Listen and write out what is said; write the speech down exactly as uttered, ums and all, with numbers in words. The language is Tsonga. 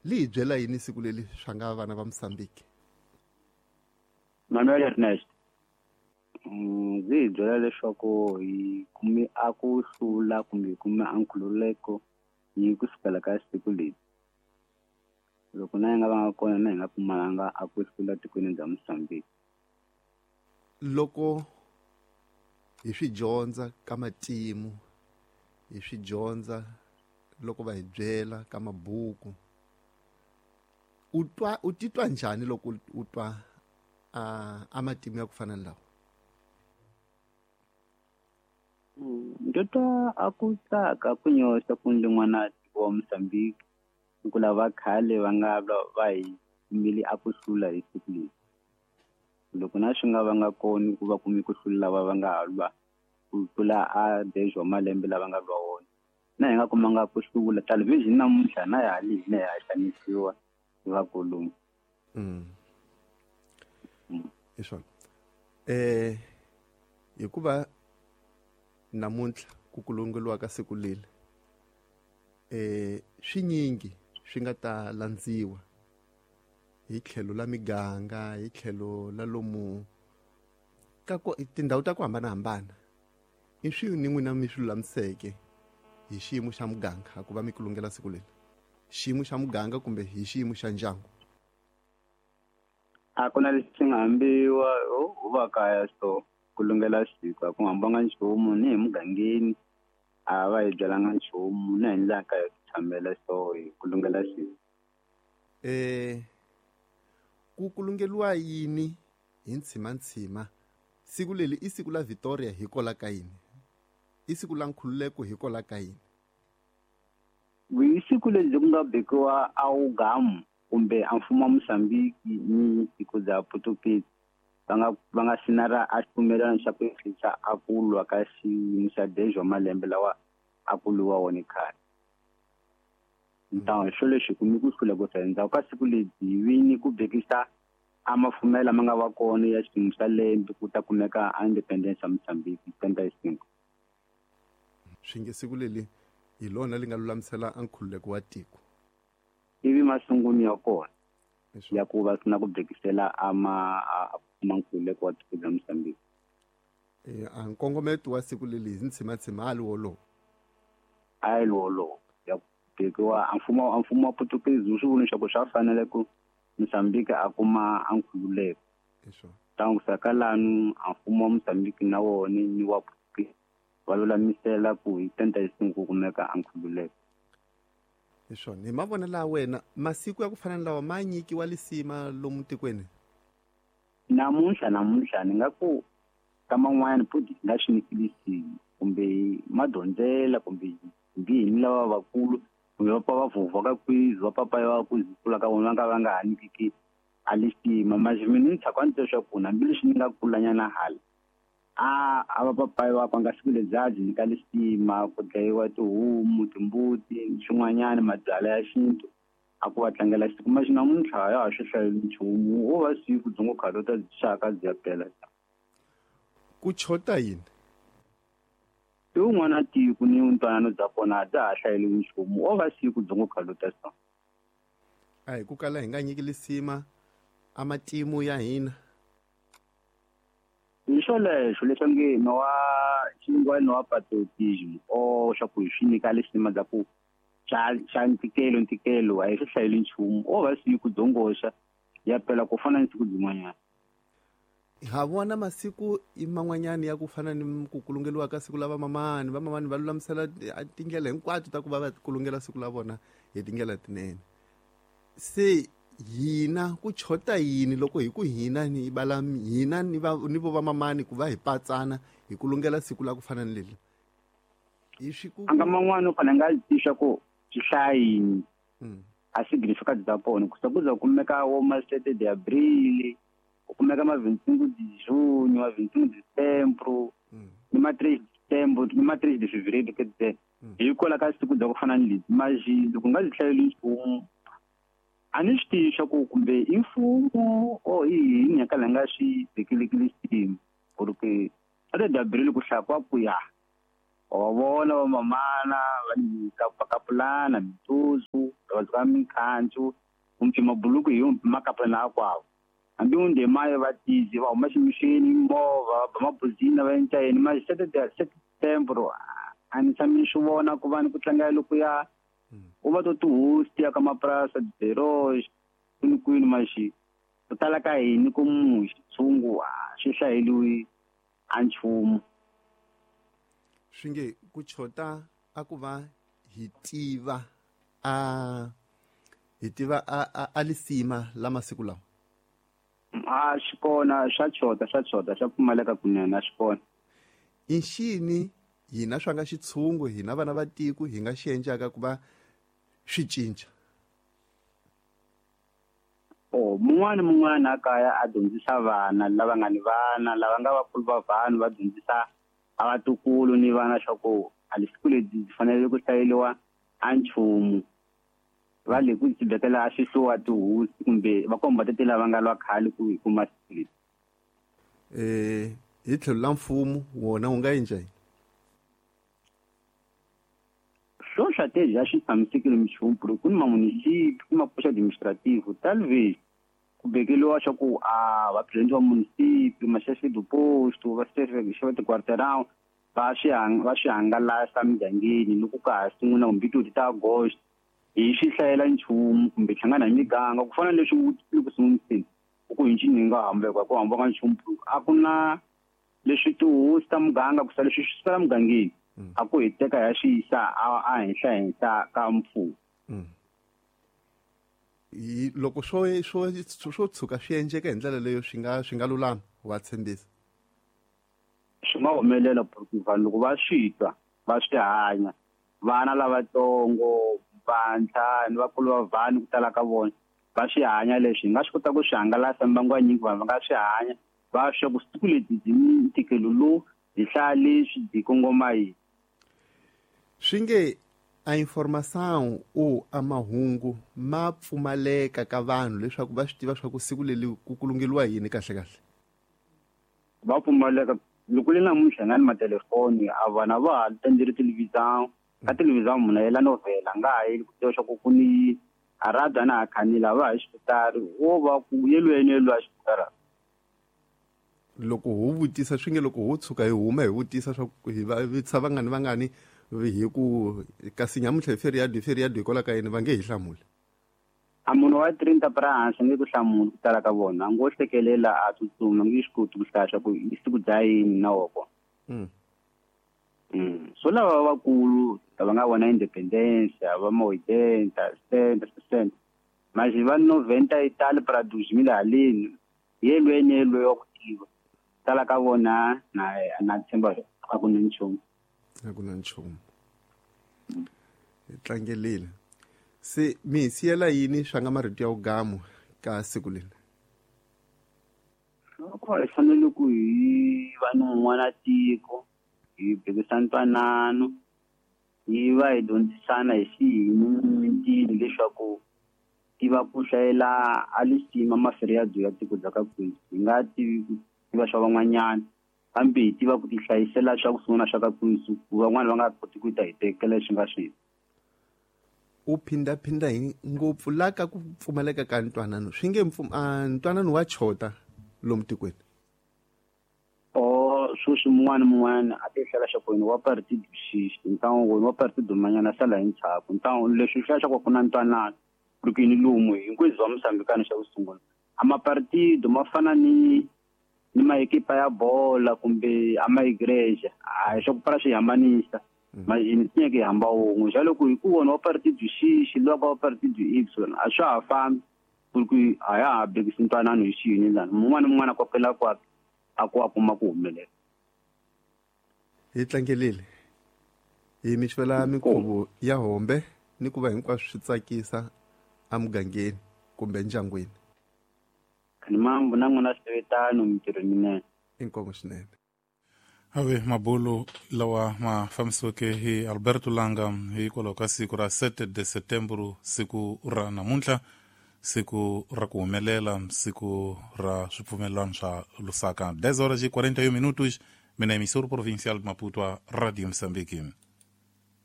Li hi byela yini siku leri swa nga vana va Mozambique? Manuel Ernest. Ndzi hi byela leswaku hi kume a ku hlula kumbe hi kume a nkhululeko hi kusukela ka siku leri. Loko na hi nga va nga kona na hi nga kumalanga a ku hlula tikweni bya Mozambique. Loko hi swi dyondza ka matimu, hi swi dyondza loko va hi byela ka mabuku, u twa u titwa njhani loko u twa a a matimu ya ku fana ni lawa? Ndzi twa a ku tsaka ku nyoxa ku ndzi n'wana tiko wa Mozambique ku lava khale va nga va hi kumile a ku hlula hi siku leri. Loko na swi nga va nga koni ku va kumi ku hlula lava va nga lwa ku tlula a dez wa malembe lava nga lwa wona, na hi nga kumanga ku hlula television namuntlha na ya hali hina ya xanisiwa hi vakulumu. Mm. Hi swona. Eh hikuva namuntlha ku kulungeliwa ka siku leri eh swinyingi swi nga ta landziwa hi tlhelo la miganga, hi tlhelo la lomu ka ku tindhawu ta ku hambanahambana. I swi ni n'wina mi swi lulamiseke hi xiyimo xa muganga ku va mi kulungela siku leri, xiyimo xa muganga kumbe hi xiyimo xa ndyangu? A ku na lexi nga hambiwa ho va kaya so ku lungela siku a ku hambanga nchumu ni hi mugangeni a va hi byelanga nchumu na hi ndlela kaya tshamela so hi ku lungela siku. Eh ku kulungeliwa yini hi ntshima-ntshima? Siku leri i siku la Victoria hi kola ka yini? I siku la nkhululeko hi kola ka yini? Hi siku leri ku nga bekiwa a wugamu kumbe a mfumo wa Mozambique ni tiko bya Portuguese va nga va nga sinara a xipfumelelano xa ku ehlisa a ku lwa ka xiyimo xa dez wa malembe lawa a ku lwiwa wona khale. Ntawo xo lexi kumi ku hlula ku endzhaku ka siku leri hi vini ku bekisa a mafumela ma nga va kona ya xiyimo xa lembe ku ta kumeka a independence ya Mozambique twenty cinco. Swi nge siku leri hi lona li nga lulamisela a nkhululeko wa tiko. Ivi masungulo ya kona ya ku va sina ku bekisela a ma a nkhululeko wa tiko bya Mozambique. Eh a nkongometo wa siku leri hi ntshima-ntshima a li wolowo. A li wolowo ya ku bekiwa a mfumo a mfumo wa Portuguese wu swi vona leswaku swa fanele ku Mozambique a kuma a nkhululeko. Tangu saka lanu a mfumo wa Mozambique na wona ni wa Portuguese va lulamisela ku hi twenty cinco ku kumeka a nkhululeko. Hi swona. Hi mavonelo ya wena, masiku ya ku fana ni lawa ma nyikiwa lisima lomu tikweni? Namuntlha namuntlha ni nga ku ka man'wani futhi nga swi nyiki lisima kumbe madyondzela kumbe hi ni lava vakulu kumbe va pfa va vhovha ka kwizi va papa va ku kula ka vona va nga va nga ha nyikiki a lisima. Manje mina ni tshaka ni twa leswaku hambileswi ni nga kulanyana hala a a va papayi va nga siku lebyi byi nyika lisima ku dlayiwa tihomu timbuti swin'wanyana mabyalwa ya xintu a ku va tlangela siku. Manje namuntlha ya ha swi hlayeli nchumu wo va siku byi ngo khale ta xaka byi ya pela. Ku chota yini? I wun'wana tiko ni ntwanano bya kona a bya ha hlayeliwi nchumu wo va siku byi ngo khale ta so. A hi ku kala hi nga nyiki lisima a matimu ya hina. Hi swoleswo leswi nge no wa xingwani wa patriotism o swa ku hi swi nyika lisima bya ku xa xa ntikelo ntikelo a hi swi hlayeli nchumu o va siku dzongoxa ya pela ku fana ni siku byin'wanyana. Ha vona masiku i man'wanyana ya ku fana ni ku kulungeliwa ka siku la vamamani, vamamani va lulamisela tindlela hinkwato ta ku va va kulungela siku la vona hi tindlela tinene. Se hina ku chota yini loko hi ku hina ni bala hina ni va ni vo vamamani ku va hi patsana hi kulungela siku la ku fana ni leri? Hi swi ku a nga man'wana u fanele nga twisisa ku swi hlaya yini a significant bya kona ku ku za kumeka wo ma sete de abril ku kumeka ma vintingu de junho ma vintingu de setembro ni ma três de setembro ni ma três de fevereiro quer dizer hi kwala ka siku bya ku fana ni leti maji loko nga byi hlayeli nchumu a ni swi tivi swa ku kumbe i mfumo or i yini ya kala nga swi tekeleki lisima ku ri ke a de abril ku hlaya kwa ku ya wa vona vamamana va nyika kapulana mituzu va beka minkhancu kumbe mabuluku hi makapa na akwawo hambi unde maye va tizi va huma ximixini movha va mabuzina va endla yini ma September a ni tshami ni swi vona ku va ni ku tlanga loko ya u va to tihosi ya ka mapurasi diberox kwini kwini maxi ku tala ka hini ku muxi tshungu swi hlayeliwi a nchumu swi nge ku chota a ku va hi tiva a hi tiva a a lisima la masiku lawa a swi kona swa chota swa chota swa pfumaleka kunene a swi kona i nxini hina swa nga xitshungu hina vana va tiko hi nga xi endlaka ku va swi cinca o mun'wana mun'wana a kaya a dyondzisa vana lava nga ni vana lava nga vakulu va vanhu va dyondzisa a vatukulu ni vana swa ku a lisiku lebyi byi fanele ku hlayeliwa a nchumu va le ku tibekela a xihluwa tihosi kumbe va komba tete lava nga lwa khale ku hi kuma siku leri eh hi tlhelo la mfumo wona wu nga endla yini swo swa tezi a swi tshamisekile minchumu ku ni mamunisipi ku mapoxa administrative talvez ku bekeliwa swa ku a va presidente wa munisipi maxefe do posto va xefe ti-quarteirão va swi va swi hangalasa migangeni loko ka ha sungula kumbe ti ta agosto hi swi hlayela nchumu kumbe hlangana hi miganga ku fana na leswi ku sunguriseni ku hi ncini hi nga hambeka ku hambaka nchumu a ku na leswi tihosi ta muganga ku sala leswi swi sala mugangeni a ku hi teka ya swi yisa a henhla henhla ka mfumo loko swo swo swo tshuka swi endleka hi ndlela leyo swi nga swi nga lulama wa tshembisa swi nga humelela porque vanhu loko va swi twa va swi hanya vana lavatsongo vantshwa ni vakulu va vanhu ku tala ka vona va swi hanya leswi hi nga swi kota ku swi hangalasa mbangu wa nyingi vanhu va nga swi hanya va swa ku siku lebyi byi ni ntikelo lowu byi hlaya leswi byi kongoma yini swi nge a informação ou a mahungu ma pfumaleka ka vanhu leswaku va swi tiva swa ku siku leri ku kulungeliwa yini kahle kahle va pfumaleka loko le namuntlha nga ni matelefoni a vana va ha tendleri televisão ka televisão munhu a yela novhela a nga ha yeli ku tiva swa ku ku ni a radio a na ha khanile a va ha xiputari wo va ku yelweni yelwa xiputara loko ho vutisa swi nge loko ho tshuka hi huma hi vutisa swa ku hi va vutisa vangani vangani hi ku kasi nyamuntlha hi feriado hi feriado hikwalaho ka yini va nge hi hlamuli a munhu wa trinta pra hansi nge ku hlamuli ku tala ka vona a ngo hlekelela a tsutsuma nge swi koti ku hlaya swa ku i siku bya yini na woko mm. Mm. So lava vakulu lava nga vona independence va ma oitenta sessenta sessenta mas va noventa e tal para dois mil haleni yelweni yelwe wa ku tiva tala ka vona na na tshemba a ku na nchumu a ku na nchumu hi tlangelile se mi hi siyela yini swa nga marito ya ugamu ka siku leri loko hi fanele ku hi va ni un'wana tiko hi bekisa ntwanano hi va hi dyondzisana hi xiyini leswaku tiva ku hlayela a lisima maferiado ya tiko bya ka kwihi hi nga tivi ku tiva swa van'wanyana kambe hi tiva ku tihlayisela swa ku sungula swa ka kwihi ku van'wana va nga koti ku ta hi tekela leswi nga swi u phindaphinda hi ngopfu la ka ku pfumaleka ka ntwanano swi nge ntwanano wa chota lomu tikweni o sweswi mun'wana mun'wana a ti hlela xa ku wa partido xixi ntlangu wa partido manyana sala hi ndzhaku ntlangu leswi hlaya xa ku ku na ntwanano porque ni lomu hinkwezi wa Mozambikano xa ku sungula a mapartido ma fana ni ni maekipa ya bola kumbe a maigreja a swa ku para swi hambanisa majini tinyeke hi hamba wun'we xa loko hi ku vona wa partido xixi loko wa partido Y a swa ha fambi porque a ya ha bekisi ntwanano hi xiyini lani mun'wana mun'wana kokela kwakhe a ku a kuma ku humelela hi tlangelile hi mi xivela minkhuvo ya hombe ni ku va hinkwaswo swi tsakisa emugangeni kumbe ndyangwini ni mambo na n'wina swivetano mintirho minene inkomo swinene ave mabulu lawa ma fambisiweke hi Alberto Langa hikwalaho ka siku ra sete de setembro siku ra namuntlha siku ra ku humelela siku ra swipfumelelano swa Lusaka dez horas e quarenta e um minutos mina emissora provincial de Maputo a Rádio Moçambique.